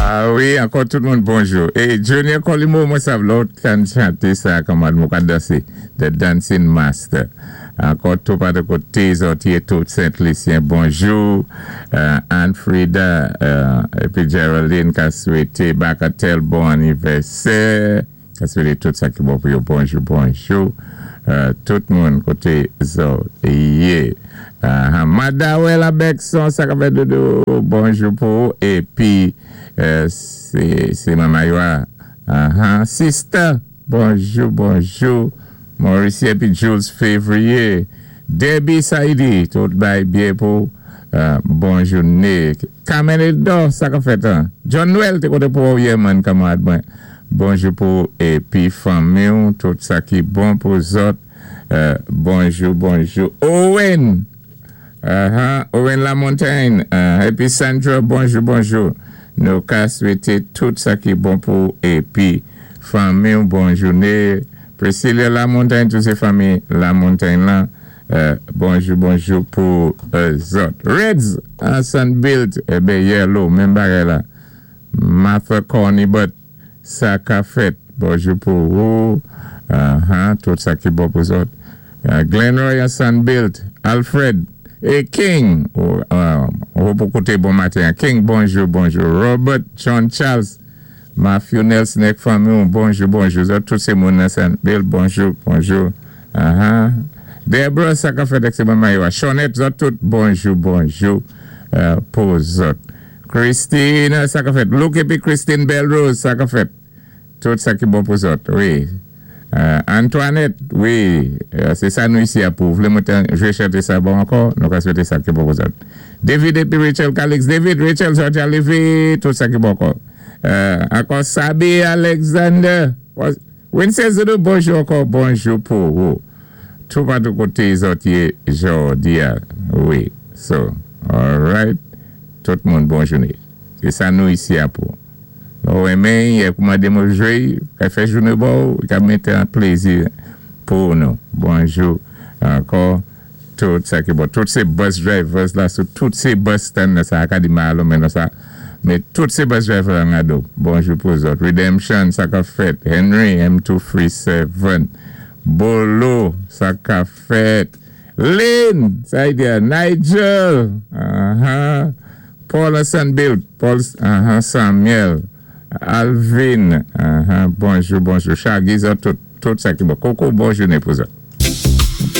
Ah wi, ankò tout moun bonjou. É Junior Colimo, mwen sav lò tann chanté sa kanmad mwen ka dansé. The Dancing Master. Ankò tou patou koté zòt yé, tout Sent Lisyen bonjou. Anne Frida épi Geraldine ka swété Bacatel bon anivèsè. Ka swété tout sa ki bon pou yo. Bonjou bonjou tout moun koté zòt yé. Madawel Abekson, sa ka fèt, doudou? Bonjou pou ou épi sé Mama Yoa. Sista, bonjou bonjou Mauricie épi Jules Février. Debbie Saidi, tout bay byen pou bon jouné. Carmen Eldor, sa ka fèt an? John Noël té koté pou ou yè man, kanmarad mwen. Bonjou pou ou épi fanmi ou, tout sa ki bon pou zòt. Bonjou bonjou Owen. Owen Lamontagne épi Sandra, bonjou bonjou. Nou ka swété tout sa ki bon pou ou épi fanmi ou bon jouné. Priscilla Lamontagne, tout sé fanmi Lamontagne lan, bonjou bonjou pou zòt. Reds an Sunbuilt, eben Yellow menm bagay la. Martha Cornibut, sa ka fèt? Bonjou pou ou, tout sa ki bon pou zòt. Glenroy an Sunbuilt, Alfred é King, ou pou kouté bon maten an. King, bonjou bonjou. Robert John Charles, Matthew Nelson ak fanmi ou, bonjou bonjou. Zòt tout sé moun nan Sunbuilt, bonjou bonjou. Deborah, sa ka fèt ak sé manman yo a? Shonette, zòt tout bonjou bonjou pou zòt. Christine, sa ka fèt? Luke épi Christine Belrose, sa ka fèt? Tout sa ki bon pou zòt wi. Antoinette, wi, sé sa nou isi a pou. Vlé mwen té jwé chanté sa bon ankò? Nou ka swété sa ki bon pou zòt. David épi Rachel Calix, David, Rachel, zòt ya lévé, tout sa ki bon ankò. Ankò Sabi Alexander, Winston Zoudou, bonjou ankò, bonjou pou ou. Toupatou koté zòt yé jòdi a, wi. So, alright, tout moun bon jouné. Sé sa nou isi a pou. Lè ou renmen y, ou mandé mwen jwé y, ka fè jouné ba ou, ka mété an plézi pou nou. Bonjou ankò tout sa ki bon. Tout sé bus drivers la sou tout sé bus stand nan sa a ka di malo men nan sa men tout sé bus driver an gado. Bonjou pou zòt. Redemption, sa ka fèt? Henry M237 Bolo, sa ka fèt? Lynn, sa y di a? Nigel, Paul an Sunbuilt, Paul Samuel, Alvin, bonjou bonjou. Shaggy, zòt tout, tout sa ki bon. Koko, bon jouné pou zòt.